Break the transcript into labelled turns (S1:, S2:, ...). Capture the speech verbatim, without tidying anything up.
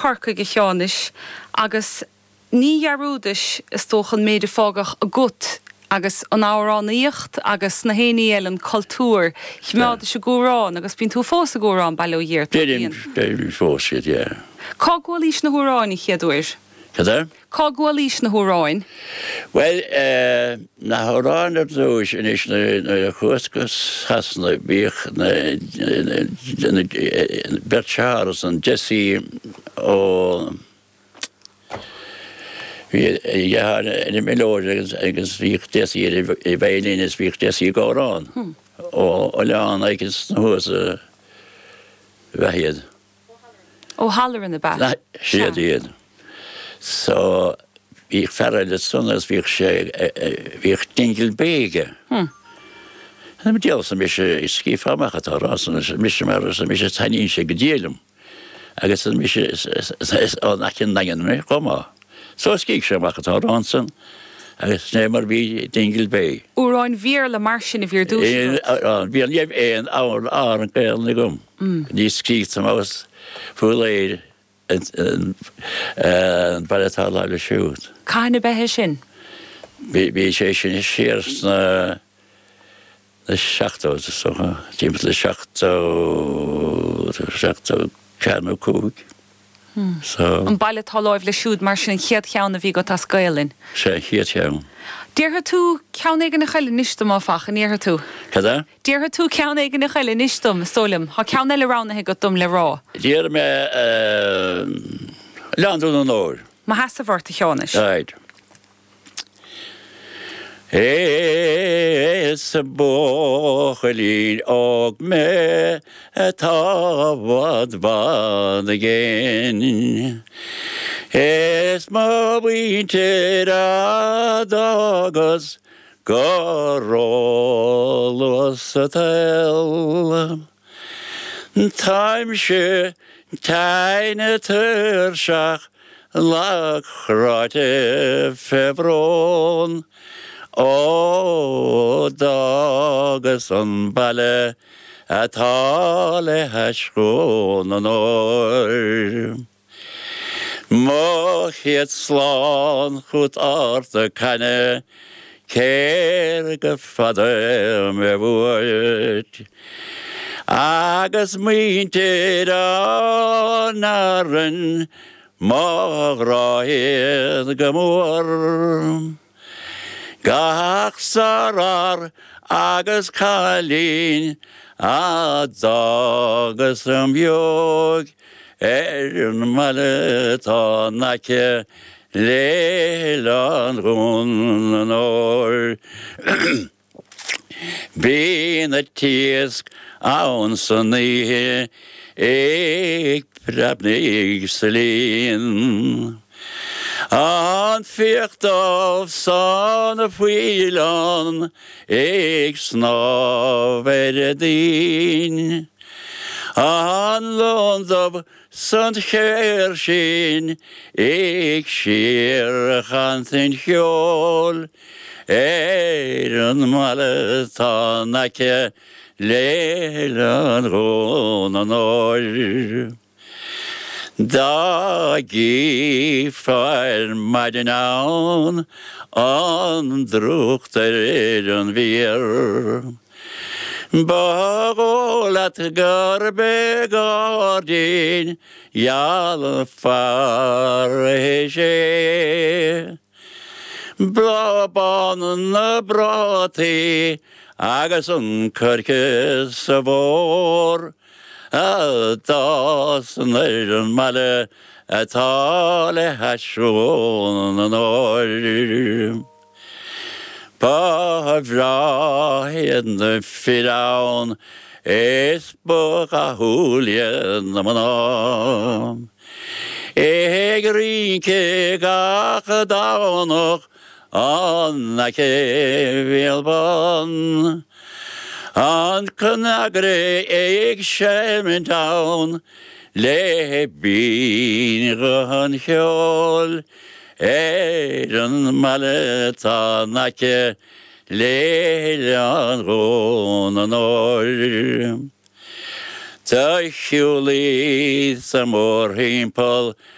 S1: Corcaigh, a Sheánuis, agus ní dhearúdais, is dócha, an méid a fágadh agat agus an amhránaíocht agus na héiní eile, an cultúr. Choimeádais ag amhrán agus bíonn tú fós ag amhrán, bail ó Dhia ort.
S2: Deirim deirim fós iad, yeah.
S1: Cá gcualaís na hamhráin an chéad uair?
S2: Cad é?
S1: Cá gcualaís na hamhráin?
S2: Well, eh, na hamhráin ar dtús anois, nuair a chuas go Sasana, bhíodh na na beirt dearthár san, Jesse ó bhí a dheartháir ina mhilleoir agus agus bhíodh Jesse ar an veidhlín is bhíodh Jesse ag amhrán ó oileán éicint sna thuas a bheith iad.
S1: Ó Halloran ab ea?
S2: Siad iad. So bhíodh fear eile san agus bhíodh sé bhíodh Dingle Bay aige. Diabhal mise scríofa amach atá rá san mise mar is mise taitníonn sé go diail liom. Agus is mise is ón aice an Daingean mé chomh maith. So scrígh sé amach atá rá ansan agus sin é mar bhí Dingle Bay.
S1: Amhráin Bhéarla mar sin a bhí ar dtús agat?
S2: Bhí ní raibh aon amhrán Gaelainne agam. Ní scríobhta amach faoi léir an baile atá láimh leis siúd.
S1: Cathain ab ea é sin?
S2: Bhí sé sin siar sna na seachtóidí, is dócha, timpeall le seachtó, seachtó ceathair nó cúig. So.
S1: An baile atá láimh leis siúd mar sin an chéad cheann a bhí agat as Gaelainn?
S2: Sé an chéad cheann.
S1: Déarfaidh tú ceann éigin eile anois dom, áfach, an ndéarfaidh tú?
S2: Cad é?
S1: Déarfaidh tú ceann éigin eile anois dom, is dóigh liom. Tá ceann eile roghnaithe agat dom le rá.
S2: Déarfaidh mé Oileán Dhún an Óir.
S1: Mo sheasamh ort, a Sheánuis.
S2: Right. Is buachaillín óg mé atá i bhfad bhfad i gcéin. Is mo mhuintir a d'fhágas go róluath sa tsaol. Táimse tinn tuirseach lag cráite fé bhrón ó d'fhágas an baile atá le hais Dhún an Óir. Mo chéad slán chút Ard na Caithne cé go fada mé uait. Agus muintir an Árainn mo ghrá iad go mór. Gach sárfhear agus cailín a d'fhágas im óige ar an mbaile atá in aice le hOileán Dhún an Óir. Bíonn an t-iasc ann san oíche ag preabnaigh sa líon. An fiach dubh 's an faoileán ag snámh ar an dtoinn. An lon dubh 's an chéirsín ag síorchantain cheoil ar an mbaile atá in aice le hOileán Dhún an Óir. Dá gcífeá ar maidin ann an drúcht ar an bhféar. Ba dhóigh leat gurb é gairdín geal Pharadhais é. Bláth bán na bprátaí agus an coirce sa bhfómhar a d'fhásann ar an mbaile atá le hais Dhún an Óir. Ba bhreá iad na fir ann is ba dhathúil iad na mná. Ag rince gach Domhnach in aice Bhéal Bán. An cnaguire ag seimint ann le binn-ghuth an cheoil ar an mbaile atá in aice le hOileán Dhún an Óir. Do shiúlaíos-sa mórthimpeall